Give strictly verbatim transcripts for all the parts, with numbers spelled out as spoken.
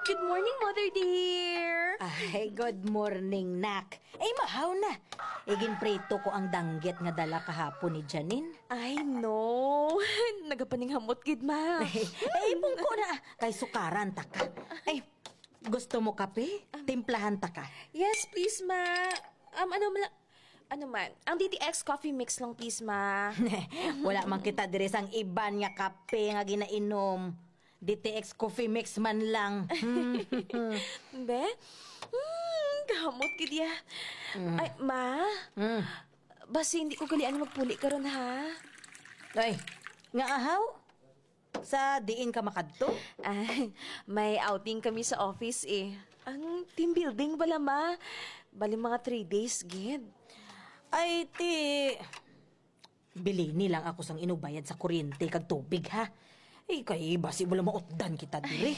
Good morning, Mother dear. Ay, good morning, nak. Ay, mahaw na. Iginprito ko ang danggit nga dala kahapon ni Janine. Ay, no. Nagapaninghamot gid, ma. Ay, bungko na. Kay sukaran ta ka. Ay, gusto mo kape? Timplahan ta ka. Yes, please, ma. Um, ano man, ano man? Ang D T X coffee mix lang, please, ma. Wala man kita diri sang iban nga kape nga ginainom. D T X coffee mix man lang. Be? Hmm, kahamot gid ya. Ay, ma? Hmm. Basi hindi ko galian magpuli karon, ha? Ay, nga ahaw? Sa diin ka makadto? Ah, may outing kami sa office, eh. Ang team building bala, ma. Bali, mga three days gid. Ay, ti, bilini lang ako sang inubayad sa kuryente kag tubig, ha? Ay, kay basi wala mautdan kita diri.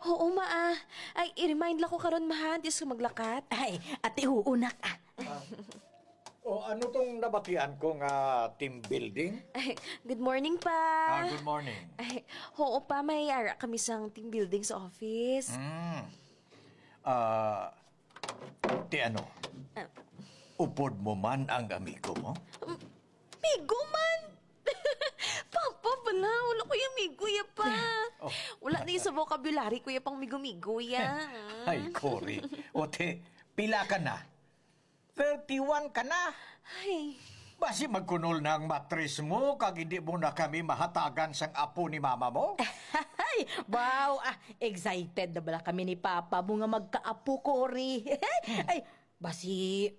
Oo, ma, ah. Ay, i-remind lang ko karon, ma, ha, antes ko maglakat. Ay, ati, huo, nak, ah. O, ano tong nabatian ko nga team building? Ay, good morning, pa. Ah, good morning. Ay, oo, pa, may ara kami sang team building sa office. Mm. Ah, ti ano? Ah. Upod mo man ang amigo mo? Migo man! Papa, bala, wala ko yung migo ya pa. Oh. Wala na yung sa vocabulary ko ya pang migo-migo ya. Ay, Cory. Ote, pila ka na? Thirty-one ka na. Ay. Basi magkunol na ang matris mo, kag hindi mo na kami mahatagan sang apo ni mama mo? Ay, wow, ah, excited na bala kami ni Papa mo nga magkaapo, Cory. Ay, basi,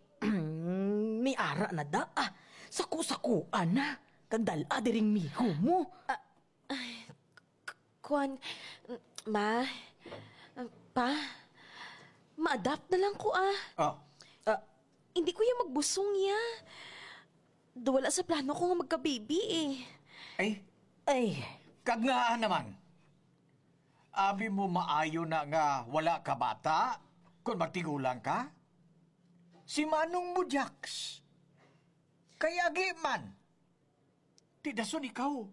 may ara na da, ah. Saku-sakuan na. Kag dala diring migo mo. Ah, ay, k-, kuwan, ma, pa, ma-adopt na lang ko, ah. Ah. Ah, hindi ko ya magbusong ya. Daw wala sa plano ko nga magka-baby, eh. Ay. Ay. Kag ngaa naman? Abi mo maayo na nga wala ka bata, kon magtigulang ka? Si manong mo, Jax. Kay agi man. Ti dason ikaw.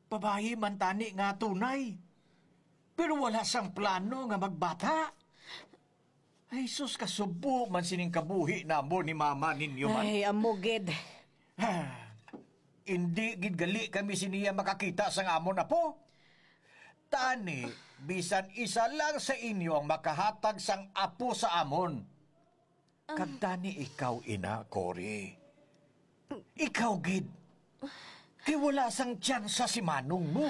Babayi man tani nga tunay. Pero wala sang plano nga magbata. Ay, sus, kasubo man sining kabuhi namo ni mama ninyo man. Ay, amo gid. Ah, indi gid gali kami siniya makakita sang amon apo. Tani, bisan isa lang sa inyo ang makahatag sang apo sa amon. Kag tani ikaw ina, Cory. Ikaw gid. Kay wala sang tsansa si manong mo.